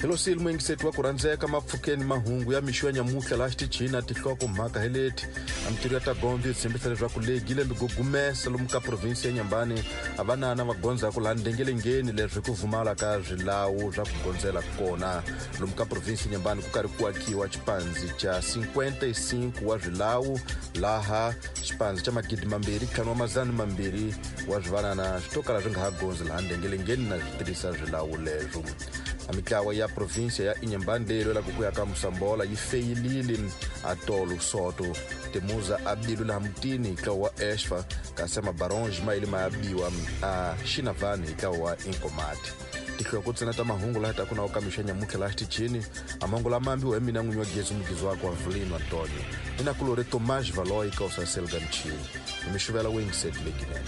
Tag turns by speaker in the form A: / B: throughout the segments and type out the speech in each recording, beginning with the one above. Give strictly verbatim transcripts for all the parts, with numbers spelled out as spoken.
A: Hello muyingiseti wa ku rhandzeka mapfukeni mahungu ya mixo ya nyamuhla laha xitichini na tinhloko mhaka hi leti a mitirho ya ta gondzo yi tshembisa leswaku legi lembe gugumesa lomu ka provinsi ya Nyambani a vanana va gondzaku laha ndengelengeni leswi ku vumala ka swilawu swa ku gondzela kona lomu ka provinsi ya Nyambani ku karhi ku akiwa xipandzi xa cinquenta e cinco wa swilawu laha xipandzi xa magidi mambirhi ntlhanu wa madzana mambirhi wa swivanana swi to kala swi nga ha gondzi laha ndengelengeni na swi tirhisa swilawu leswo. A mitlawa ya provinsia ya Inhambane leyi lwelaka ku ya ka Moçambola yi feyilile a tolo soto timuza a bilu laha mutini hi ntlawa wa Esfa, kasi mabaronge ma yile ma ya biwa a Xinavani hi ntlawa wa Inkomati. Tinhloko ntsena ta mahungu laha taku na ka mixo ya nyamutlha laha xitichini. A mahungu lama ambiwa hi mina n'winyi wa gezi mugizi wakwe wa Vulino Antonio ni nakulori Tomás Valoy ka usaselga mchini hi mixuvela wingiseti leginene.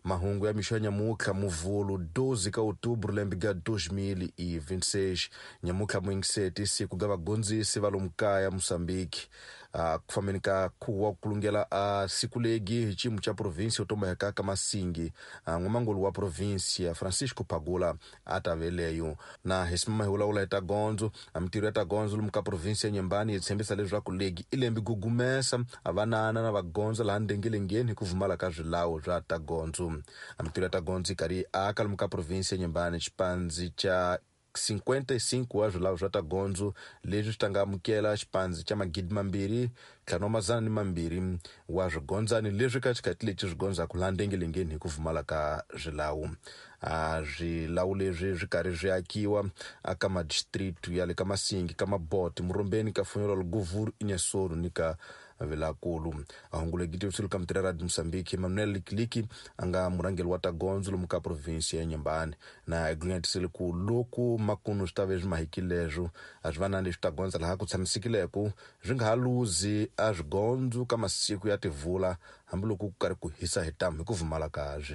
A: Mahungu ya mixo ya nyamutlha muvhulu doze ka outubro lembe ga dois mil e vinte e seis. Nyamutlha muyingiseti siku ga vagondzisi va lomu kaya Moçambique. uh, ku fambeni ka khuwa ku kulungela a uh, siku legi hi xiyimo xa provinsi yo tomba ka Masingi, uh, n'wamangulu wa provinsia Francisco Pagula a ta veleyo na hi simama hi vulavula hi ta gondzo. A mitirho ya ta gondzo lomu ka provinsi ya Nyambani yi tshembisa leswaku legi i lembe gugumesa a vanana na vagondzo laha ndengelengeni hi ku vumala ka swilawu swa ta gondzo. A mitirho ya ta gondzo yi karhi yi aka lomu ka provinsi ya Nyambani xipandzi xa cinquenta e cinco wa swilawu swa ta gondzo leswi swi ta nga amukela xipandzi xa magidi mambirhi ntlhanu wa madzana ni mambirhi wa swigondzani leswi ka xikhathi lexi swi gondzaku laha ndengelengeni hi ku vumala ka swilawu. A swilawu leswi swi karhi swi akiwa aka madistrict ya le ka Masingi, ka Maboti, Murombeni, ka Funyololo, Govuru, Inhassoro ni ka Vilakulu. Ahungu legi tivisiwile ka mitirho ya Radio Mozambique Emmanuel Likiliki a nga murhangeri wa ta gondzo lomu ka provinsi ya Nyambani na hi ku loku makunu swi ta ve swi mahikileswo a swi va na leswi ta gondza laha ku tshamisekileko swi nga ha luzi a swigondzo ka masiku ya tivula hambiloko ku karhi ku hisa hi tamu hi ku vumala ka